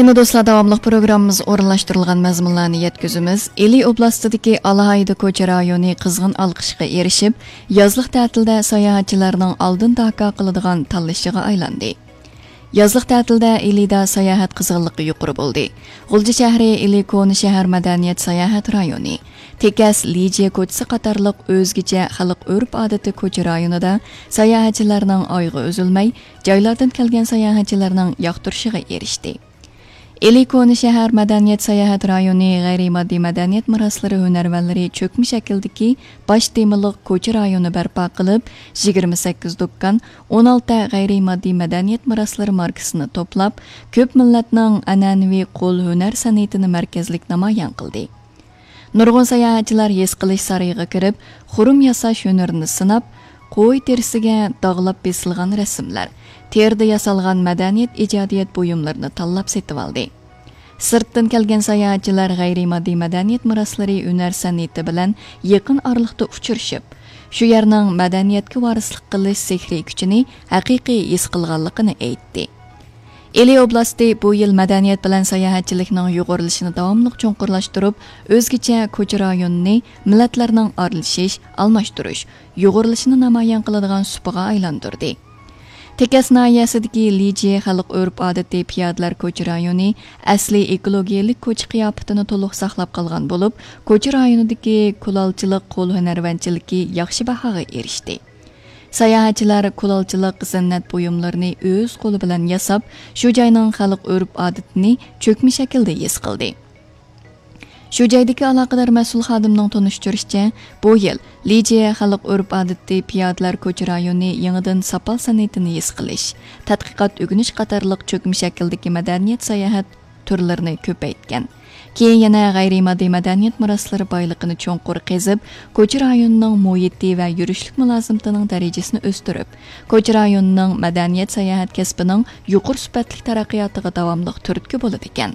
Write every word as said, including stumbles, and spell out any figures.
يەنە دوستلار، داۋاملىق پروگراممىمىز ئورۇنلاشتۇرۇلغان مەزمۇنلارنى يەتكۈزىمىز. ئىلى ئوبلاستىدىكى ئالاھىدە كوچا رايونى قىزغىن ئالقىشقا ئېرىشىپ، يازلىق تەتىلدە ساياھەتچىلەرنىڭ ئالدىن داكا قىلىدىغان تاللىشىغا ئايلاندى. يازلىق تەتىلدە ئىلىدا ساياھەت قىزغىنلىقى يۇقىرى بولدى. غۇلجا شەھىرى ئىلى كونا شەھەر مەدەنىيەت ساياھەت رايونى، تېكەس لىجيە كوچىسى قاتارلىق ئۆزگىچە خەلق ئۆرپ-ئادىتى كوچا رايونىدا ساياھەتچىلەرنىڭ ئايىغى ئۈزۈلمەي، جايلاردىن كەلگەن ساياھەتچىلەرنىڭ ياقتۇرۇشىغا ئېرىشتى. ئىلى كونا شەھەر مەدەنىيەت ساياھەت رايونى غەيرىي ماددىي مەدەنىيەت مىراسلىرى ھۈنەرۋەنلىرى چۆكمە شەكىلدىكى باش تېمىلىق كوچا رايونى بەرپا قىلىپ، يىگىرمە سەككىز دۇكان، ئون ئالتە غەيرىي ماددىي مەدەنىيەت مىراسلىرى ماركىسىنى توپلاپ، كۆپ مىللەتنىڭ ئەنئەنىۋى قول ھۈنەر سەنئىتىنى مەركەزلىك نامايان قىلدى. نۇرغۇن ساياھەتچىلەر ھېس قىلىش سارىيىغا كىرىپ، خۇرۇم ياساش ھۈنىرىنى سىناپ، قوي تېرىسىگە داغلاپ بېسىلغان رەسىملەر، تېرىدا ياسالغان مەدەنىيەت ئىجادىيەت بۇيۇملىرىنى تاللاپ سېتىۋالدى. سىرتتىن كەلگەن ساياھەتچىلەر غەيرىي ماددىي مەدەنىيەت مىراسلىرى ھۈنەر سەنئىتى بىلەن يېقىن ئارىلىقتا ئۇچرىشىپ، شۇ يەرنىڭ مەدەنىيەتكە ۋارىسلىق قىلىش سېھرىي كۈچىنى ھەقىقىي ھېس قىلغانلىقىنى ئېيتتى. ئىلى ئوبلاستى بۇ يىل مەدەنىيەت بىلەن ساياھەتچىلىكنىڭ يۇغۇرۇلۇشىنى داۋاملىق چوڭقۇرلاشتۇرۇپ، ئۆزگىچە كوچا رايونىنى مىللەتلەرنىڭ ئارىلىشىش، ئالماشتۇرۇش، يۇغۇرۇلۇشىنى نامايان قىلىدىغان سۇپىغا ئايلاندۇردى. تېكەس ناھىيەسىدىكى لىجيې خەلق ئۆرپ-ئادىتى پىيادىلەر كوچا رايونى ئەسلىي ئېكولوگىيەلىك كوچا قىياپىتىنى تولۇق ساقلاپ قالغان بولۇپ، كوچا رايونىدىكى كۇلالچىلىق قول ھۈنەرۋەنچىلىكى ياخشى باھاغا ئېرىشتى. ساياھەتچىلەر كۇلالچىلىق زىننەت بۇيۇملىرىنى ئۆز قولى بىلەن ياساپ، شۇ جاينىڭ خەلق ئۆرپ-ئادىتىنى چۆكمە شەكىلدە ھېس قىلدى. شۇ جايدىكى ئالاقىدار مەسئۇل خادىمنىڭ تونۇشتۇرۇشىچە، بۇ يىل لىجيې خەلق ئۆرپ-ئادىتى پىيادىلەر كوچا رايونى يېڭىدىن ساپال سەنئىتىنى ھېس قىلىش، تەتقىقات ئۆگىنىش قاتارلىق چۆكمە شەكىلدىكى مەدەنىيەت ساياھەت تۈرلىرىنى كۆپەيتكەن. كېيىن يەنە غەيرىي ماددىي مەدەنىيەت مىراسلىرى بايلىقىنى چوڭقۇر قېزىپ، كوچا رايونىنىڭ مۇھىتى ۋە يۈرۈشلۈك مۇلازىمىتىنىڭ دەرىجىسىنى ئۆستۈرۈپ، كوچا رايونىنىڭ مەدەنىيەت ساياھەت كەسپىنىڭ يۇقىرى سۈپەتلىك تەرەققىياتىغا داۋاملىق تۈرتكە بولىدىكەن.